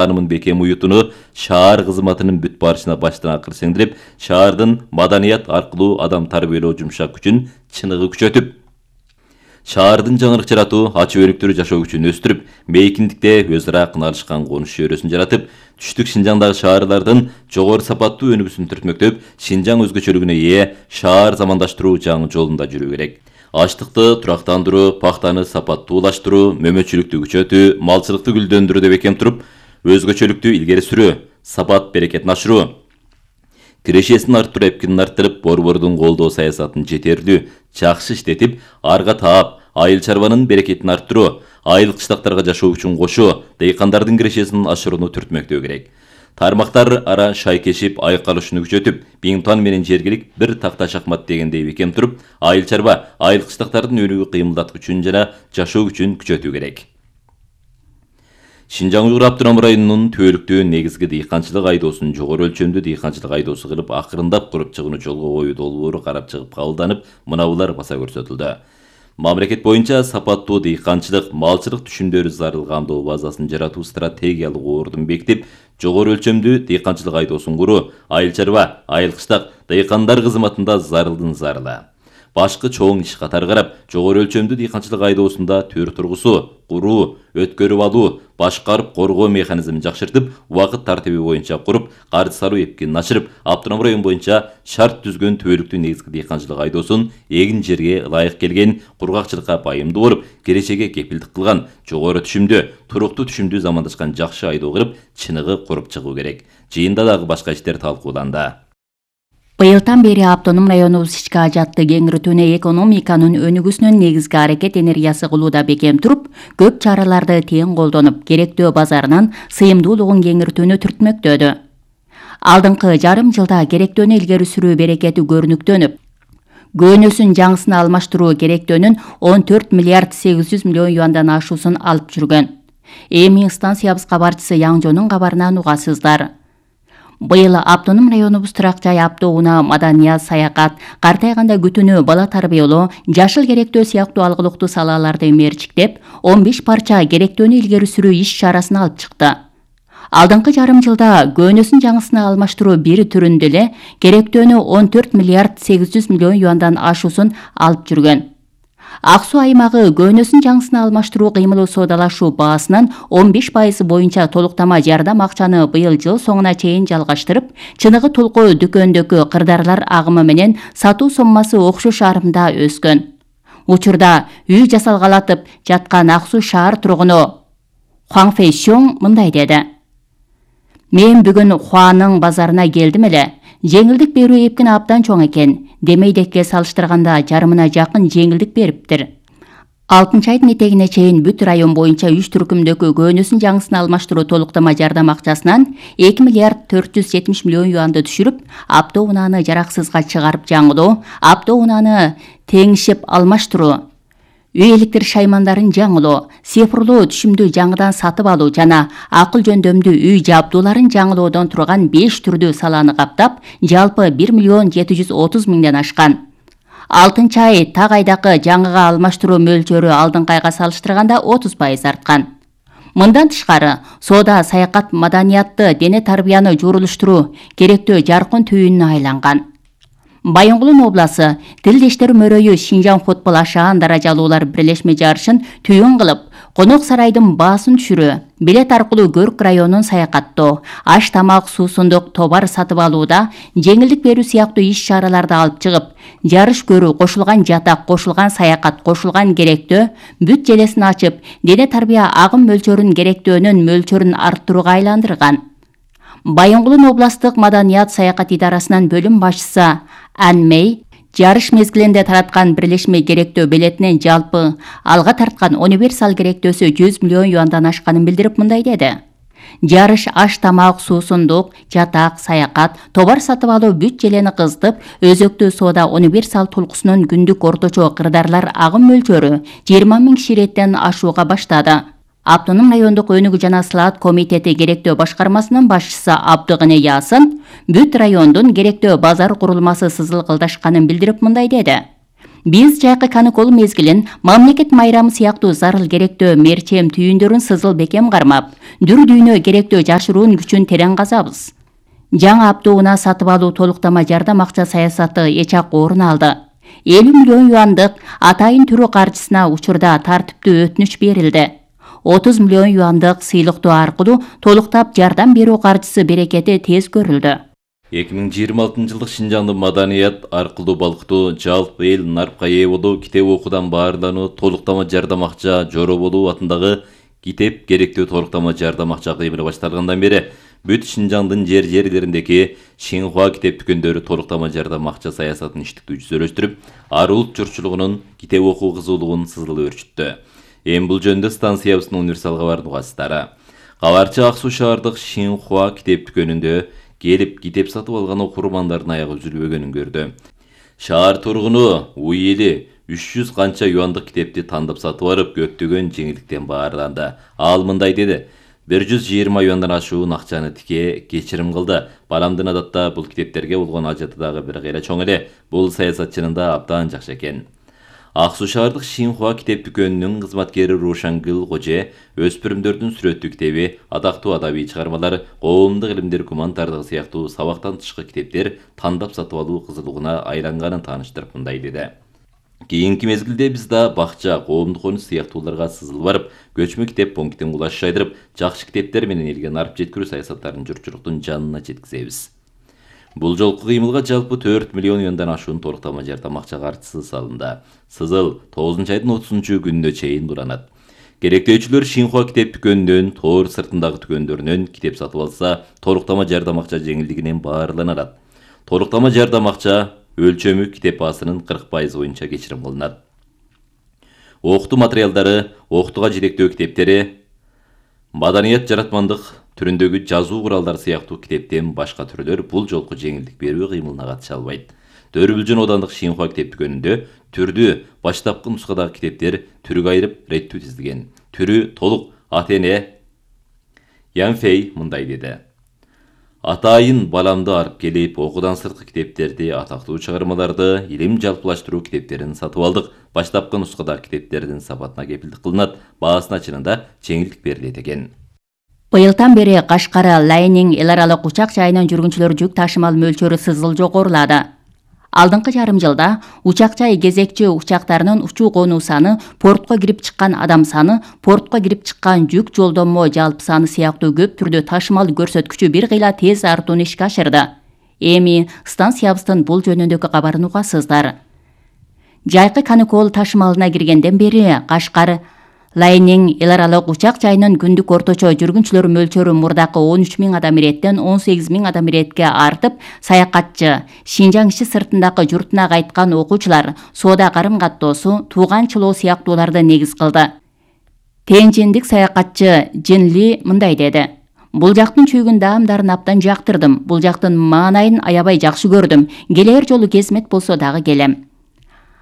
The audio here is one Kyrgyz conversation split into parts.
Анымын бекем уютуну шаар кызматынын бүт барышына баштан акыр сеңдирип, шаардын маданият аркылуу адам тарбиялоо жумшак күчүн чыныгы күчөтүп, шаардын жаңырык жаратуу, ачык өнүктүрүү жашоо күчүн өстүрүп, мейкиндикте өз ара кыналышкан конуш чөйрөсүн жаратып, түштүк Шинжаңдагы шаарлардын жогору сапаттуу өнүгүүсүн түртмөктөп, Шинжаң өзгөчөлүгүнө ээ шаар замандаштыруу жаңы жолунда жүрүү керек. Аштыкты турактандыруу, пахтаны сапаттуулаштыруу, мөмөчүлүктү күчөтүү, малчылыкты гүлдөндүрүүдө бекем туруп, өзгөчөлүктү илгери сүрүү, сапат берекетин ашыруу, кирешесин арттыруу, эпкинин арттырып, борбордун колдоо саясатын жетерлүү, жакшы иштетип, арга таап, айыл чарбанын берекетин арттыруу, айыл кыштактарга жашоо үчүн кошуу, дыйкандардын кирешесин ашырууну түртмөктөө керек. Тармактар ара шайкешип, айкалышууну күчөтүп, Биңтуан менен жергилик бир такта шахмат дегендей бекем туруп, айыл чарба, айыл кыштактардын өнүгүү кыймылдаткычын жана жашоо күчүн күчөтүү керек. Шинжаң Уйгур Автоном районунун түбөлүктүү негизги дыйканчылык айдоосун жогору өлчөмдүү дыйканчылык айдоосу кылып, акырындап куруп чыгууну жолго коюу долбоору карап чыгып кабылданып, мынабулар баса көрсөтүлдү. Мамлекет боюнча сапаттуу дыйканчылык, малчылык түшүмдөрү зарыл камдоо базасын жаратуу стратегиялык ордун бекитип, жогору өлчөмдүү дыйканчылык айдоосун куруу, айыл чарба, айыл кыштак, дыйкандар кызматында зарылдын зарыла. Башкы чоң иш катары карап, жогору өлчөмдүү дыйканчылык айдоосунда төр тургусу, куруу, өткөрүп алуу, башкарып коргоо механизмин жакшыртып, убакыт тартиби боюнча куруп, каржы салуу эпкинин ашырып, автоном район боюнча шарт түзгөн түбөлүктүү негизги дыйканчылык айдоосун эгин жерге ылайык келген, кургакчылыкка пайымдуу болуп, келечекке кепилдик кылган, жогору түшүмдүү, туруктуу түшүмдүү замандашкан жакшы айдоо кылып, чыныгы куруп чыгуу керек. Жыйында дагы башка иштер талкууланды. Быйылдан бери автоном районубуз ички ажатты кеңиртүүнө экономиканын өнүгүүсүнүн негизги аракет энергиясы кылууда бекем туруп, көп чараларды тең колдонуп, керектөө базарынын сыйымдуулугун кеңиртүүнү түртмөктөдү. Алдыңкы жарым жылда керектөөнү илгери сүрүү берекети көрүнүктөнүп, көөнөсүн жаңысына алмаштыруу керектөөнүн 14 миллиард 800 миллион юандан ашуусун алып жүргөн. Эми станциябыз кабарчысы Яңжонун кабарынан угасыздар. Быйыл автоном районубуз турак жай, автоунаа, маданият, саякат, картайганда күтүүнү, бала тарбиялоо, жашыл керектөө сыяктуу алгылыктуу салаларды мерчиктеп, 15 парча керектөөнү илгери сүрүү иш чарасын алып чыкты. Алдыңкы жарым жылда көөнөсүн жаңысына алмаштыруу бир түрүндө эле керектөөнү 14 миллиард 800 миллион юандан ашуусун алып жүргөн. Ак суу аймагы көөнөсүн жаңысына алмаштыруу кыймылы соодалашуу баасынын 15% боюнча толуктама жардам акчаны быйыл жыл соңуна чейин жалгаштырып, чыныгы толку дүкөндөгү кырдаарлар агымы менен сатуу соммасы окшош арымда өскөн. Учурда үй жасалгалатып жаткан Ак суу шаар тургуну Хуан Фэйшоң мындай деди: "Мен бүгүн Хуанын базарына келдим эле. Жеңилдик берүү эпкин абдан чоң экен. Демейдекке салыштырганда жарымына жакын жеңилдик бериптир. 6-айдын этегине чейин бүт район боюнча 3 түркүмдөгү көөнөсүн жаңысына алмаштыруу толуктама жардам акчасынан 2 миллиард 470 миллион юанды түшүрүп, автоунааны жараксызга чыгарып жаңылоо, автоунааны теңишип алмаштыруу, үй электр шаймандарын жаңылоо, цифрлуу түшүмдү жаңыдан сатып алуу жана акыл жөндөмдүү үй жабдууларын жаңылоодон турган 5 түрдүү саланы каптап, жалпы 1 миллион 730 миңден ашкан. 6-ай так айдакы жаңыга алмаштыруу мөлчөрү алдыңкы айга салыштырганда 30% арткан. Мындан тышкары, соода, саякат, маданиятты, дене тарбияны журулуштуруу керектөө жаркын түйүнүнө айланган. Байоңгулун обласы Тилдештер мөрөйү Шинжаң футбол ашаан даражалуулар бирлешме жарышын түйүн кылып, конок сарайдын баасын түшүрүү, билет аркылуу Көрк районун саякаттоо, аш тамак, суусундук, товар сатып алууда жеңилдик берүү сыяктуу иш чараларды алып чыгып, жарыш көрүү, кошулган жатак, кошулган саякат, кошулган керектөө бүт желесин ачып, дене тарбия агым мөлчөрүн керектөөнүн мөлчөрүн арттырууга айландырган. Байоңгулун областык маданият саякат идарасынын бөлүм башчысы Анмей жарыш мезгилинде тараткан бирлешме керектөө билетинен жалпы алга тарткан универсал керектөөсү 100 миллион юандан ашканын билдирип мындай деди: "Жарыш аш тамак, суусундук, жатак, саякат, товар сатып алуу бүт желени кызытып, өзөктүү соода универсал толкусунун күндүк орточо кырдаарлар агым мөлчөрү 20 000 киши реттен ашууга баштады. Автоном райондук өнүгүү жана сылаат комитети керектөө башкармасынын башчысы Абдыгыне Ясын бүт райондун керектөө базар курулмасы сызылгылдашканын билдирип мындай деди: Биз жайкы каникул мезгилин мамлекет майрамы сыяктуу зарыл керектөө мерчем түйүндөрүн сызыл бекем кармап, дүр дүйнө керектөө жашыруун күчүн терең казабыз. Жаңы автоунаа сатып алуу толуктама жардам акча саясаты эчак орун алды. 50 миллион юандык атайын түрү каржысына учурда тартиптүү өтүнүч берилди. 30 миллион юандык сыйлыктоо аркылуу толуктап жардам берүү каржысы берекети тез көрүлдү. 2026 жылдык Шинжаңдын маданият аркылуу балкытуу, жалпы эл нарпка ээ болуу, китеп окуудан баарлануу, толуктама жардам акча жороболуу атындагы китеп керектүү толуктама жардам акча кыймылы башталгандан бери бүт Шинжаңдын жерлериндеги Шинхуа китеп дүкөндөрү толуктама жардам акча саясатын иштиктүү жүзөлөштүрүп, ар улут журтчулугунун китеп окуу кызуулугун сызыл өрчүттү. Эми бул жөнүндө станциябыздын универсал кабардын угасыздары. Кабарчы Ак Суу шаардык Шинхуа китеп дүкөнүндө келип китеп сатып алган окурмандардын аягы үзүлбөгөнүн көрдү. Шаар тургуну уй эли 300 канча юандык китепти тандап сатып барып, көптөгөн жеңилдиктен баарланды. Ал мындай деди: 120 юандан ашуун акчаны тике кечирим кылды. Баламдын адатта бул китептерге болгон ажаты дагы бир кыйла чоң эле. Бул саясатчынын да абдан жакшы экен. Ак Суу шаардык Шинхуа китеп дүкөнүнүн кызматкери Рушангыл Коже өспүрүмдөрдүн сүрөттүү китеби, атактуу адабий чыгармалар, коомдук илимдер, гуманитардык сыяктуу сабактан тышкы китептер тандап сатып алуу кызылыгына айланганын тааныштырып мындай деди: Кийинки мезгилде биз да бакча, коомдук конуш сыяктууларга сызылып барып, көчмө китеп пунктин кулаш жайдырып, жакшы китептер менен элге нарып жеткирүү саясаттарын журтчулуктун жанына жеткизебиз. Бул жолку кыймылга жалпы 4 миллион юандан ашуун толуктама жардам акча каржысы салынды. Сызыл 9 айдын 30 күнүнө чейин дуранат. Керектөөчүлөр Шинхуа китеп дүкөнүнөн, тоор сыртындагы дүкөндөрүнөн китеп сатып алса, толуктама жардам акча жеңилдигинен баарланат. Толуктама жардам акча өлчөмү китеп баасынын 40% боюнча кечирим кылынат. Окутуу материалдары, окутууга жетектөө китептери, маданият жаратмандык түрүндөгү жазуу куралдары сыяктуу китептен башка түрлөр бул жолку жеңилдик берүү кыймылына катыша албайт. Дөрүбүлжүн оодандык Шинхуа китеп дүкөнүндө түрдүү баштапкы нускадагы китептер түргө айырып реттүү тизилген. Түрү толук Атене Янфей мындай деди: Атайын баламды арып келип, окуудан сырткы китептерди, атактуу чыгармаларды, илим жалпылаштыруу китептерин сатып алдык. Баштапкы нускадагы китептердин сапатына кепилдик кылынат, баасына чынында жеңилдик берилет экен. Быйылдан бери Кашкар Лайнинг эл аралык учак жайынан жүргүнчүлөр жүк ташымал мөлчөрү сызыл жогорулады. Алдыңкы жарым жылда учак жай кезекчи учактарынын учуу конуу саны, портко кирип чыккан адам саны, портко кирип чыккан жүк жолдомо жалпы саны сыяктуу көп түрдө ташымал көрсөткүчү бир кыйла тез артууну ишке ашырды. Эми станциябыздын бул жөнүндөгү кабарын угасыздар. Жайкы каникул ташымалына киргенден бери Кашкар Лайнинг эл аралык учак жайынын күндүк орточо жүргүнчүлөр мөлчөрү мурдакы 13.000 адам иреттен 18.000 адам иретке артып, саякатчы, Шинжаң иши сыртындагы журтуна кайткан окуучулар, соода карым-каттоосу, тууганчылоо сыяктууларды негиз кылды. Тенжиндик саякатчы Джинли мындай деди: Бул жактын чүйгүн даамдарын абдан жактырдым. Бул жактын маанайын аябай жакшы көрдүм. Келер жолу кезмет болсо дагы келем.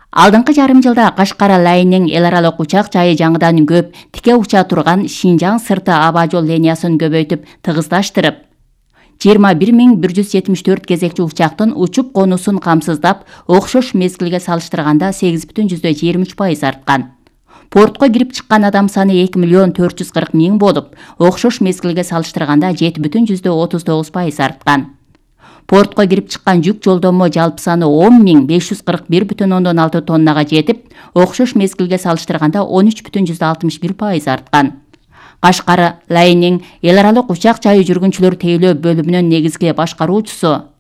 Алдыңкы жарым жылда Кашкар Лайнинг эл аралык учак жайы жаңыдан көп тике уча турган Шинжаң сырты аба жол линиясын көбөйтүп, тыгыздаштырып, 21.174 кезекчи учактын учуп конусун камсыздап, окшош мезгилге салыштырганда 8,23% арткан. Портко кирип чыккан адам саны 2.440.000 болуп, окшош мезгилге салыштырганда 7,39% арткан. Портко кирип чыккан жүк жолдомо жалпы саны 10.541,6 тоннага жетип, окшош мезгилге салыштырганда 13,61% арткан. Кашкар Лайнинг эл аралык учак жайы жүргүнчүлөр тейлөө бөлүмүнүн негизги башкаруучусу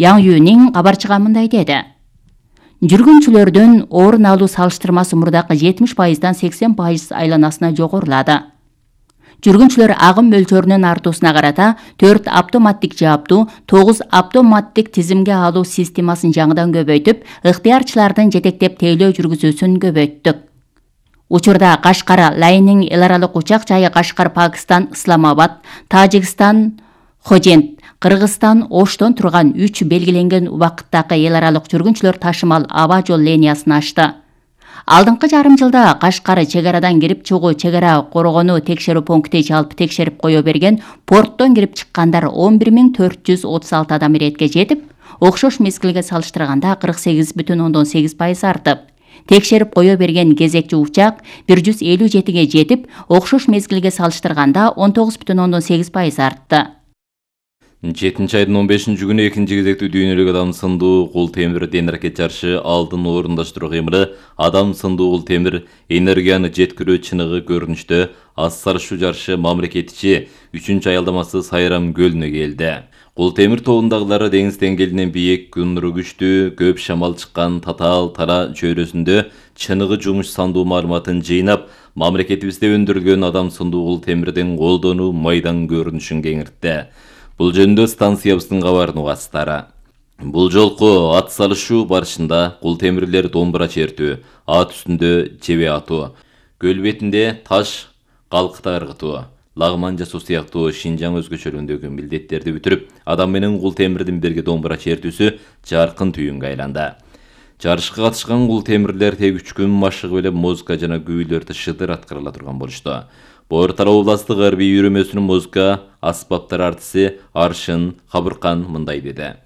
Яң Юнин кабарчыга мындай деди: Жүргүнчүлөрдүн орун алуу салыштырмасы мурдакы 70%дан 80% айланасына жогорулады. Жүргүнчүлөр агым мөлчөрүнүн артуусуна карата 4 автоматтик жааптуу, 9 автоматтик тизимге алуу системасын жаңыдан көбөйтүп, ыктыярчылардын жетектеп тейлөө жүргүзүүсүн көбөйттүк. Учурда Кашкар Лайнинг эл аралык учак жайы Кашкар, Пакистан, Исламабад, Тажикстан, Хожент, Кыргызстан, Оштон турган 3 белгиленген убакыттагы эл аралык жүргүнчүлөр ташымал аба жол линиясын ачты. Алдыңкы жарым жылда Кашкар чегарадан кирип чыгуу чегара коргонуу текшерүү пункти жалпы текшерип кое берген, порттон кирип чыккандар 11.436 адам иретке жетип, окшош мезгилге салыштырганда 48,8% артып, текшерип кое берген кезекчи учак 157ге жетип, окшош мезгилге салыштырганда 19,8% артты. 7-айдын 15-күнү экинчи кезектүү дүйнөлүк адам сындуу кул темир денеракет жарышы алдын орундаштыруу кыймылы адам сындуу кул темир энергияны жеткирүү чыныгы көрүнүштө аз сарышуу жарышы мамлекетичи 3-аялдамасы Сайрам көлүнө келди. Кул темир тобундагылары деңиз деңгээлинен бийик, күн нуру күчтүү, көп шамал чыккан Татаал Тара чөйрөсүндө чыныгы жумуш сандуу маалыматын жыйнап, мамлекетибизде өндүрүлгөн адам сындуу кул темирдин колдонуу майдан көрүнүшүн кеңиртти. Бул жөнүндө станциябыздын кабарын угасыздар. Бул жолку ат салышуу барышында кул темирлер домбура чертүү, ат үстүндө жебе атуу, көл бетинде таш калкыта ыргытуу, лагман жасоо сыяктуу Шинжаң өзгөчөлүгүндөгү милдеттерди бүтүрүп, адам менен кул темирдин бирге домбура чертүүсү жаркын түйүнгө айланды. Жарышка катышкан кул темирлер тег 3 күн машыгып эле музыка жана күүлөрдү шыдыр аткарыла турган болушту. Боор Тарау областык арбий үйрөмөсүнүн музыка аспаптар артиси Аршын Кабыркан мындай деди.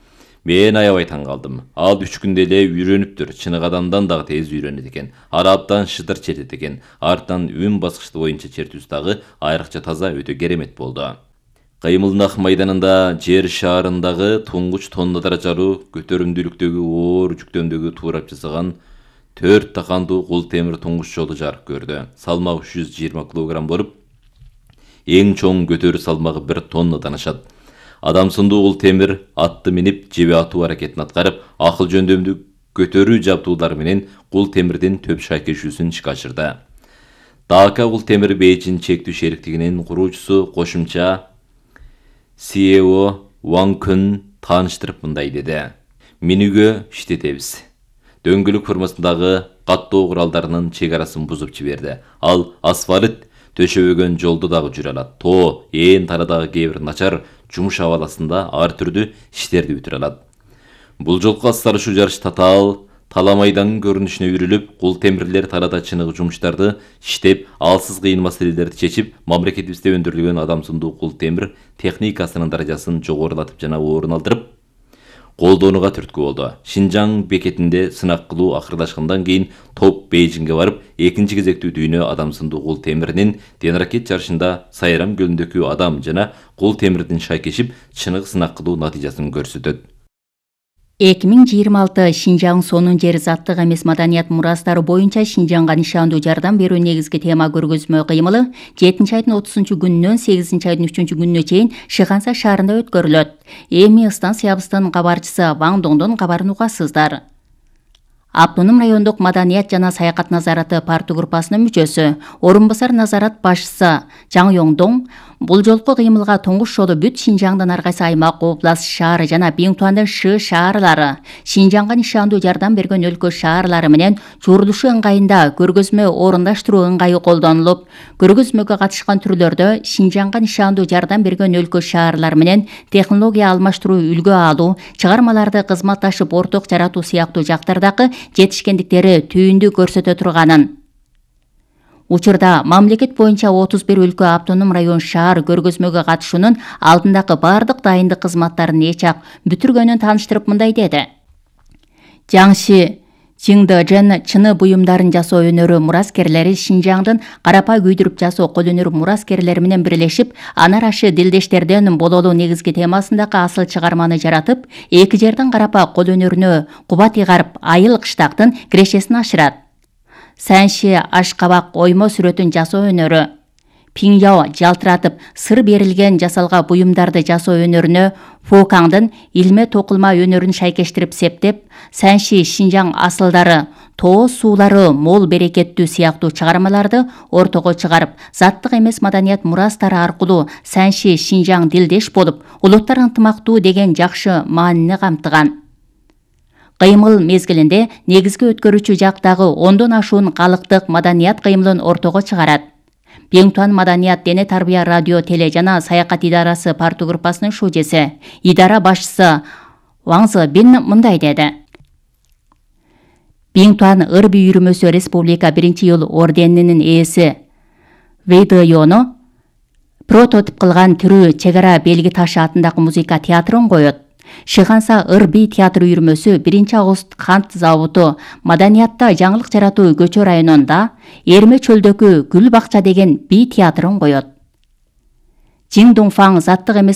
Мен аябай таң калдым. Ал 3 күндө эле үйрөнүптүр. Чыныгы адамдан дагы тез үйрөнөт экен. Арабтан шыдыр чертет экен. Артынан үн баскычты боюнча чертүүсү дагы айрыкча таза, өтө керемет болду. Кыймылнах майданында жер шаарындагы туңгуч тонна даражалуу көтөрүмдүүлүктөгү оор жүктөмдөгү туурап жасаган 4 такандуу кул темир туңгуч жолу жарык көрдү. Салмагы 320 кг болуп, эң чоң көтөрүү салмагы 1 тоннадан ашат. Адам сындуу кул темир атты минип жебе атуу аракетин аткарып, акыл жөндөмдүү көтөрүү жабдуулары менен кул темирдин төп шайкешүүсүн ишке ашырды. Дака кул темир Бейжин чектүү шериктигинин куруучусу кошумча CEO Wang Kun тааныштырып мындай деди. Минүгө иштетебиз. Дөңгөлөк формасындагы каттоо куралдарынын чек арасын бузуп жиберди. Ал асфальт төшөбөгөн жолду дагы жүрө алат. Тоо, ээн тарадагы кээ бир начар жумуш абаласында ар түрдүү иштерди бүтүрө алат. Бул жолку аз сарышуу жарыш Татаал Тала майданын көрүнүшүнө үйрүлүп, кул темирлер талада чыныгы жумуштарды иштеп, алсыз кыйын маселелерди чечип, мамлекетибизде өндүрүлгөн адам сындуу кул темир техникасынын даражасын жогорулатып жана орун алдырып, колдонууга түрткү болду. Шинжаң бекетинде сынак кылуу акырдашкандан кийин топ Бейжиңге барып, экинчи кезектүү дүйнө адам сындуу кул темиринин денеракет жарышында Сайрам көлүндөгү адам жана кул темирдин шайкешип, чыныгы сынак кылуу натыйжасын көрсөтөт. 2026 Шинжаң сонун жер заттык эмес маданият мурастары боюнча Шинжаңга нишандуу жардам берүү негизги тема көргөзмө кыймылы 7-айдын 30-күнүнөн 8-айдын 3-күнүнө чейин Шыханса шаарында өткөрүлөт. Эми станциябыздын кабарчысы Ваң Доңдон кабарын угасыздар. Автоном райондук маданият жана саякат назараты парту группасынын мүчөсү, орун басар назарат башчысы Жаң Йоңдоң бул жолку кыймылга туңгуш жолу бүт Шинжаңдын ар кайсы аймак, област шаары жана Биңтуандын Шы шаарлары, Шинжаңга нишандуу жардам берген өлкө шаарлары менен чурулушу ыңгайында көргөзмө орундаштыруу ыңгайы колдонулуп, көргөзмөгө катышкан түрлөрдө Шинжаңга нишандуу жардам берген өлкө шаарлар менен технология алмаштыруу, үлгү алуу, чыгармаларды кызматташып орток жаратуу сыяктуу жактардагы жетишкендиктери түйүндү көрсөтө турганын. Учурда мамлекет боюнча 31 өлкө автоном район шаар көргөзмөгө катышуунун алдындагы бардык дайындык кызматтарын эчак бүтүргөнүн тааныштырып мындай деди. Жаңши Чиңдэжен чыны буюмдарын жасоо өнөрү мураскерлери Шинжаңдын карапа күйдүрүп жасоо кол өнөр мураскерлери менен бирлешип, анар ашы дилдештерден бололуу негизги темасындагы асыл чыгарманы жаратып, эки жердин карапа кол өнөрүнө кубат ыйгарып, айыл кыштактын кирешесин ашырат. Сэнши ашкабак оймо сүрөтүн жасоо өнөрү, Пиңяо жалтыратып сыр берилген жасалга буюмдарды жасоо өнөрүнө Фокаңдын илме токулма өнөрүн шайкештирип септеп, Сэнши Шинжаң асылдары, тоо суулары мол берекеттүү сыяктуу чыгармаларды ортого чыгарып, заттык эмес маданият мурастары аркылуу Сэнши Шинжаң дилдеш болуп, улуттар ынтымактуу деген жакшы маанини камтыган. Кыймыл мезгилинде негизги өткөрүүчү жактагы 10дон ашуун калыктык маданият кыймылын ортого чыгарат. Биңтуан маданият дене тарбия радио теле жана саякат идарасы парту группасынын шужеси, идара башчысы Ваң Зыбин мындай деди. Биңтуан ырби үйрүмөсү республика 1-жыл орденинин ээси Вейдыёну прототип кылган түрү чек ара белги ташы атындагы музыка театрын коет. Шыганса Ыр би театр үйүрмөсү 1-август кант заводу маданиятта жаңылык жаратуу көчө районунда Эрме чөлдөгү Гүл бакча деген би театрын коет. Жиң Дуңфаң заттык эмес